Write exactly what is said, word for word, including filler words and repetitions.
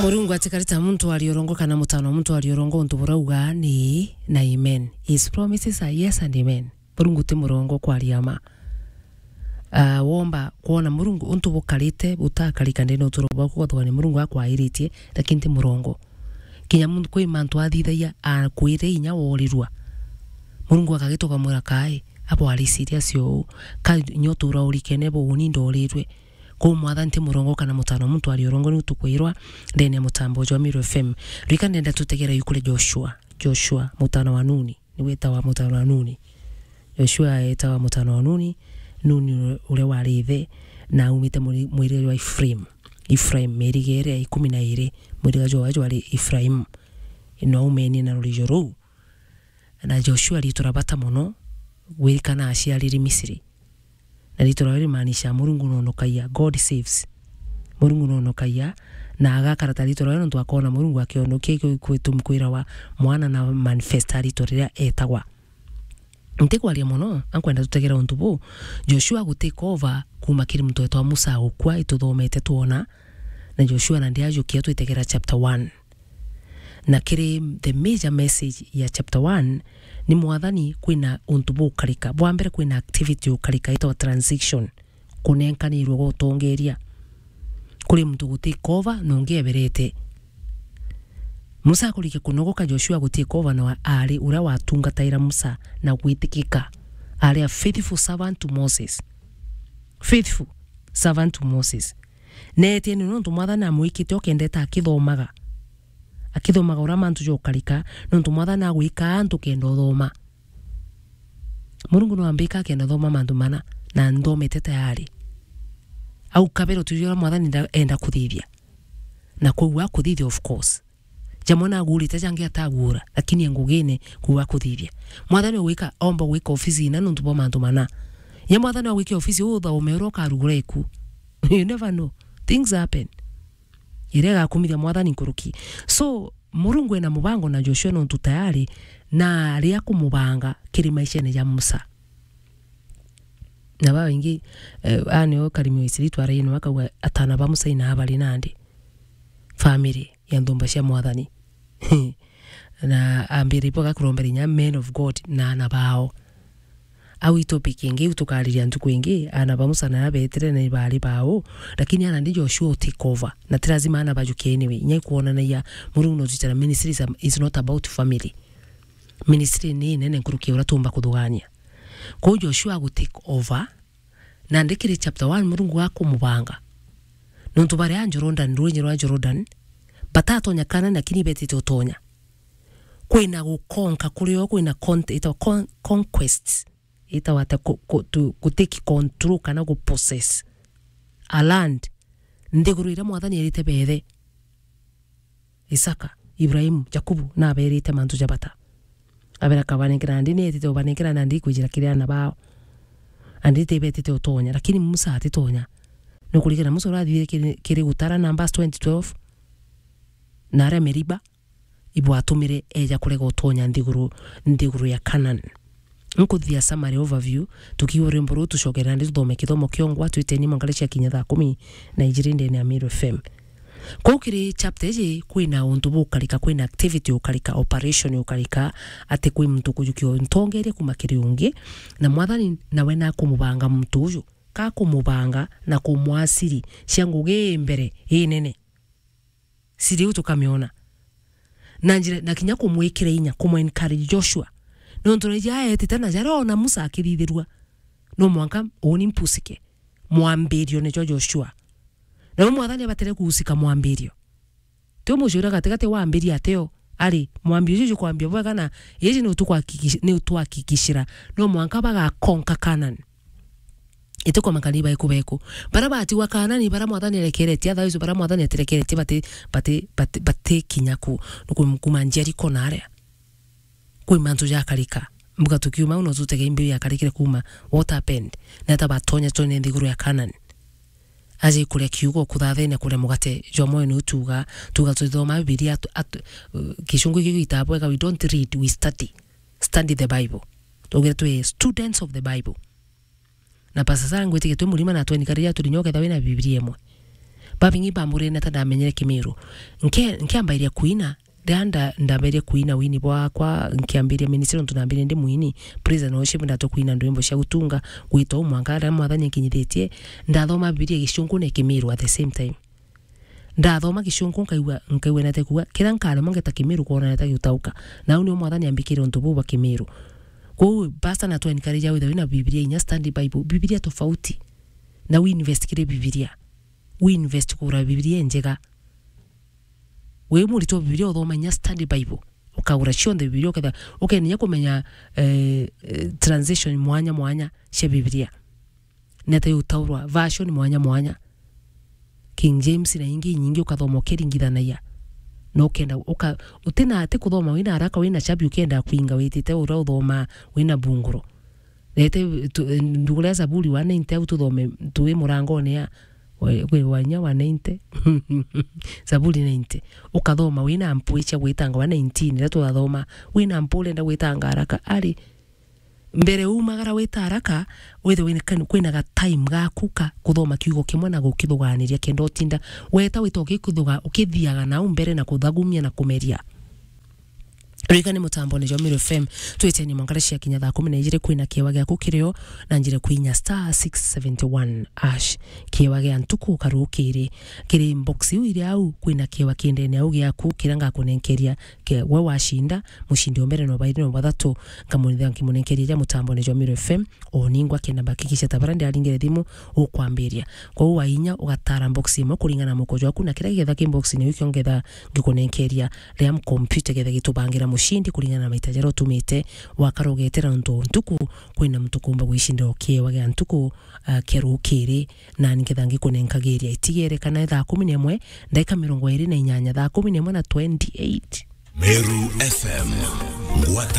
Murungu atikari ta muntu ari urongo kana mutano wa muntu ari urongo, untu burauga ni na amen. His promises are yes and amen. Murungu ti murongo kwaria ma. Ah, womba kwona Murungu untu bukarite, butakarika ndene uturo bwaku, ugathugania Murungu akwairitie, lakini ti murongo. Kinya muntu kwi mantu athithagia, akwire inya worirua. Murungu akagitoka mwira kai, abo ari serious uu. Ka nyo tura urikene bo uni ndorirwe. Kou Mwathani ti murongo kana mutano wa muntu ari urongo, niu tukwirwa ndene ya mutambo jwa Meru F M. Rika ndenda tutegera yu kuri Joshua. Joshua, mutano wa Nuni. Niwe etawa mutano wa Nuni. Joshua etawa mutano wa Nuni. Nuni uria wari ithe, na aumite muri-, mwirige jwa Ephraim. Ephraim, miriga iria ikumi na iri, mwirige jwawe jwari Ephraim. No aumenie na rurijo ruu. Na Joshua riitwa ra bata mono, gwirikana aciariri Misiri. Na riitwa riu rimaanisha Murungu noonokagia, God saves. Murungu noonokagia, na agakara ta riitwa riu nontu akoona Murungu akionokia, ikio gitumi kwirawa mwana na manifesta riitwa riria etagwa. Ntikwaria mono, ankwenda tutegera untu buu. Joshua gutake over kuuma kiri muntu wetwa Musa gukua, ituthomete twona. Na Joshua nandi ajukia twitegera chapter one. Na kiri the major message ya chapter one, ni Mwathani kwina untu bukarika. Bwa mbere kwina activity ukarika, itawa transition, kunenkanirwe gwa utongeria. Kuri muntu gutake over na ungi eberete. Musa akurike kunogoka, Joshua gutake over na ari uria watungataira Musa na gwitikika. Ari a faithful servant to Moses. Faithful servant to Moses. Neetie ni nontu Mwathani amwikite o kenda eta akithomaga. Akithomaga uria mantu jokarika, nontu Mwathani agwika antu kenda uthoma. Murungu no ambika akenda thoma mantu mana, na nthomete tayari. Au kabere uturia uria Mwathani nda-, enda kuthithia. Na kwou akuthithia, of course. Jamwe nagurite, jangi atagura, lakini e ngugine kwou akuthithia. Mwathani ogwika, omba gwika ofisi ina nontu bwa mantu mana. Nya Mwathani ogwika ofisi uu uthome uria ukarugura iku. You never know. Things happen. Iria igakumithia Mwathani nkuruki. So, Murungu ena mubango na Joshua nontu tayari na ari akumubanga kiri maishene ja Musa. Na babaingi, eh, aa nio Karimi wa Isiri twaraine, akauga atana ba Musa ina bari nandi. Family ya nthumba cia Mwathani. Na ambire ibo gakurombera inya men of God na ana bao. Au i topic ingi, iu tukariria ntuku ingi, ana ba Musa na betire na ibari bao, lakini ana ndi Joshua u take over. Na ti lazima ana bajuke anyway. Inya ikwonanagia Murungu no tuchara ministry is, a, is not about family. Ministry ni nene nkuruki ya uria tumba kuthugania. Kwou Joshua agu take over, na ndi kiri chapter one Murungu akumubanga. Nontu bari a Jordan, rwinyi rwa Jordan, batatonya Kanani, lakini betite utonya. Kwina gukonka kurio, kwina con-, itawa con-, conquests. Itawa ata ku-, ku-, to, ku take control kana gu possess a land. Nthiguru iria Mwathani erite bethe. Isaka, Ibrahimu, Jakubu, naberite mantu ja bata. Abera kabanenkera, nandi nietite ubanenkera, nandi ikwijira kiri ana bao. Andi tibetite utonya, lakini Musa atitonya. Nukurikana Musa urathire kiri, kiri gutara Numbers twenty twelve, na aria Meriba, ibwatumire eja kurega utonya nthiguru, nthiguru ya Canaan. Nkuthithia summary overview, tukiigua rwimbo ruu, tucokere nandi tuthome kithomo kiongwa, twiteni mwanka riria ciakinya thaa kumi na ijiri ndene ya Meru F M. Kuu kiri chapter iji, kwina untu bukarika, kwina activity ukarika, operation ukarika, ati kwi muntu kujukia untongeria kuma kiri ungi, na Mwathani nawe nakumubanga muntu uju, kakumubanga na kumwaa siri cia ngugi ii mbere, ii nene. Siri iu tukamiona. Na njira, na kinya kumwikira inya, kumu encourage Joshua. Nontu na ija aetite na jaria ona Musa akithithirua. No mwanka uuni mpusike. Mwambirio nijo Joshua. Na we Mwathani abatire kuusika mwambirio. Ti umuciura gatigati wambiria ateo. Ari, mwambi uju jukwambia bwega na iji ni utukwakiki-, ni utuhakikishira. No mwanka bagakonka Canaan. Iti kwa makani baiku beku. Bara batigwa Kanani, bara Mwathani arekeretie, otherwise bara Mwathani atirekeretie, bati, bati, bati, bati kinya ku, nuku-, kuma Jericho na aria. Kwi mantu jakarika. Mbuga tukiuma au no tutege imbi yakarikire kuma. What happened? Neta batonya tone nthiguru ya Kanani. Aje kuria kiugo, kuthathene, kuria mugate jwa mwoyo ni utuga, tuga tuthoma Bibilia atu, atu, uh, Gicungu giki gitabu wega, we don't read, we study. Study the Bible. Tugire twi students of the Bible. Na Pastor Sarah ngwitikia twi murima na twenikaria turi nyoka ethwa wina Bibilia imwe. Babingi bamburirie nata ndamenyere Kimiru. Nke-, nkiambairia kuina, riria nda-, ndamberia kuina wini bwakwa, nkiambiria ministry nontu nambirie ndi mwini, praise and worship, ndatwa kuina ndwimbo cia gutunga, gwita u mwanka aria Mwathani akinyithitie, ndathoma Bibilia Gicunku na Kimiru at the same time. Ndathoma Gicunku nkaigua, nkaigua nate kuuga, kiria nkaremwa ngeta Kimiru kwona nate giutauka. Na au nio Mwathani ambikire untu buu bwa Kimiru. Kwou, pastor na twa encourage withirwe wina Bibilia inya study Bible, Bibilia tofauti. Na wi invest kiri Bibilia. Wi invest kugura Bibilia injega. Wi muritwa Bibilia uthoma inya study Bible. Ukagura cionthe Bibilia uketha, ukenya kumenya, eh, eh, translation mwanya mwanya cia Bibilia. Nete utaurwa version mwanya mwanya. King James na ingi inyingi ukathoma ukiringithanagia. No ukenda, uka-, utina ati kuthoma wina haraka, wina chabi ukenda kwinga witite uria uthoma wina bunguro. Rete tu-, ndugure Zaburi one ninety au tuthome twi murangone ya, we-, kwi wa inya one ninety. Zaburi ninety. Ukathoma wina mpwi cia gwitanga one nineteen, riria twathoma, wina mpwi urenda gwitanga haraka, ari, mbere umagara wita haraka, withe wina kan-, kwina ga time gaku ka kuthoma kiugo kimwe na gukithuganiria kenda utinda weta wita ukikithuga-, ukithiaga nau mbere na kuthagumia na kumeria. Rika ni mutambone jwa Meru F M, twiteni mwankara cia kinya thaa kumi na ijiri kwina kiewa giaku kirio na njire kwinya star six seventy one hash. Kiewa gia ntuku karukiri. Kiri box iu iri au, kwina kiewa kindene au giaku kiria ngakunenkeria ke-, we wacinda, mucindi o mbere no bairi no bathatu, nkamunenkeria ja mutambone jwa Meru F M, o ningwa kenda mbakikisha ta bara ndiaringire thimu ukwambiria. Kwou wainya ugatara box imwe kuringana na mukojo waku na kiria gigetha ki box ni ukio ngetha ngikunenkeria ria mkompyuta getha gitubangira mucindi kuringana na maita jaria utumite. Wakara ugetera nontu ntuku kwina muntu kumba gwicindira ukiewa gia ntuku, ah, kia rukiri, na niketha ngikunenkagiria itigere kana thaa kumi na imwe ndaika mirongo iri na inyanya, thaa kumi na imwe na twenty-eight. Meru F M, ngwata